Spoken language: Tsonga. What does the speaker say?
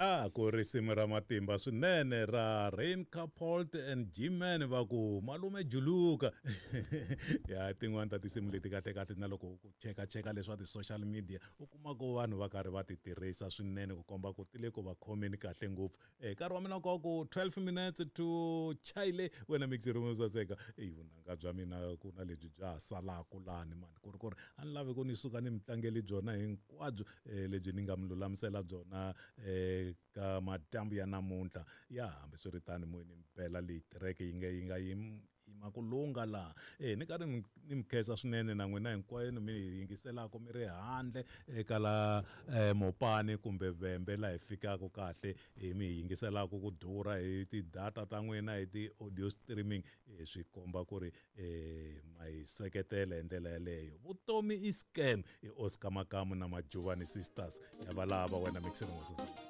A ku risimu ra matimba swinene ra Rain Capolt and G-Man va ku malume juluka. Ya tin'wani ta tinsimu leti kahle kahle na loko ku cheka cheka leswa ti-social media u kuma ku vanhu va karhi va ti tirhisa swinene ku komba ku ti le ku va khomeni kahle ngopfu. Nkarhi wa mina ku ku 12 minutes to chayile wena mixer mo saseka. Eyi vunanga bya mina ku na lebyi bya ha salaku lani mani ku ri ku ri a ni lavi ku ni suka ni mi tlangeli byona hinkwabyo lebyi ni nga mi lulamisela byona ka madyambu ya namuntlha. Ya hambiswiritano moyeni mpela leyi tirheke yi nga yi nga yima ku lungha laha. Ni karhi ni mi khensa swinene na n'wina hinkwenu mi hi yingiselaka mi ri handle eka la Mopani kumbe Vhembe laha hi fikaka kahle hi mi yingiselaka ku durha hi ti-data ta n'wina hi ti-audio streaming swi komba ku ri ma hi seketela hi ndlela yaleyo. Vutomi i scam i Oscar Makamu na Majuvani Sisters ya valava wena mixer mo saseka.